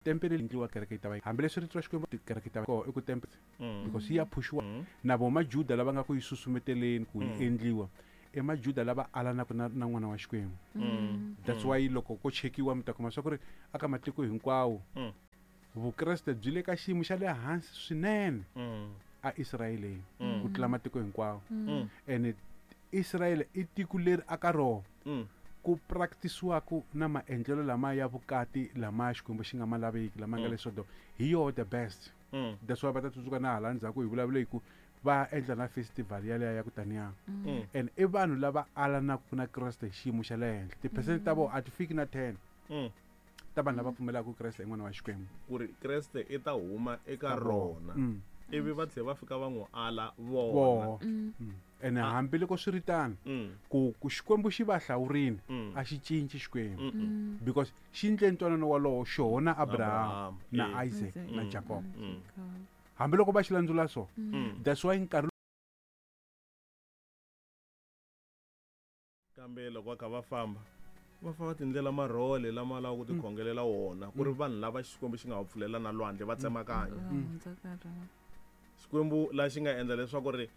Tempele leyi endliwa kereke yi ta va hambileswi rito ra Xikwembu kereke yi ta va koho i ku tempele because yi ya phushiwa na vo majuda lava nga ku yi susumeteleni ku yi endliwa i majuda lava alanaka na na n'wana wa Xikwembu. That's why loko ko chekiwa mi ta kuma swa ku ri aka matiko hinkwawo Vukreste byi le ka xiyimo xa le hansi swinene a Israyeleni ku tlula matiko hinkwawo. Ene Israyele i tiko leri aka rona ku practice-waku na maendlelo lama ya vukati lama Xikwembu xi nga ma laveki lama nga le Sodoma hi yoho the best. That's why va ta tsundzuka na hala ndzhaku hi vulavule hi ku va endla na festival yaleya ya ku taniya. And i vanhu lava alanaka na Kreste hi xiyimo xa le henhla. Ti-percent ta vona a ti fiki na 10 ta vanhu lava pfumelaka ku Kreste i n'wana wa Xikwembu. Ku ri Kreste i ta huma eka rona. Ivi va tlhela va fika va n'wi ala vona. Voho. Ene hambiloko swi ri tano, ku ku Xikwembu xi va hlawurile, a xi cinci Xikwembu. Because xi endle ntwanano wolowo xoho na Abraham, na Isaac, na Jacob. Hambiloko va xi landzula so. That's why nkarhi Kambe loko va kha va famba, va famba tindlela marhole lama lavaka ku tikhongelela wona, ku ri vanhu lava Xikwembu xi nga va pfulela na lwandle va tsemakanya. Xikwembu la xi nga endla leswaku ri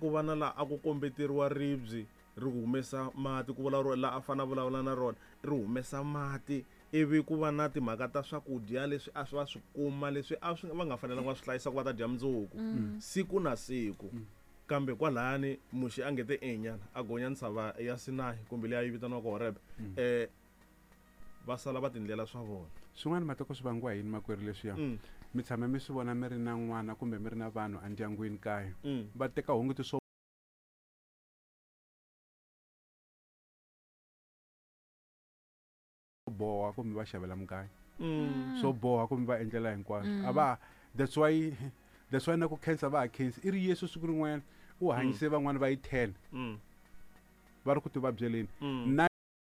ku va na laha a ku kombeteriwa ribye ri humesa mati, ku vulavuriwa laha a fanele a vulavula na rona ri humesa mati, ivi ku va na timhaka ta swakudya leswi a swi va swi kuma leswi a swi va nga fanelanga va swi hlayisa ku va ta dya mundzuku siku na siku. Kambe kwalani Muxe a nge te enyana a gonya ntshava ya Sinayi kumbe leyi a yi vitaniwaka Horebe, va sala va tindlela swa vona. Swin'wana matiko swi vangiwa hi yini makwerhu leswiya? Mi tshame mi swi vona mi ri na n'wana kumbe mi ri na vanhu endyangwini kaya va teka hungiti swo boha kumbe va xavela mugayo swo boha kumbe va endlela hinkwaswo a va that's why that's why na ku khensa va ha khensi i ri Yesu siku rin'wanyana u hanyise van'wana va yi 10 va ri ku ti vabyeleni na.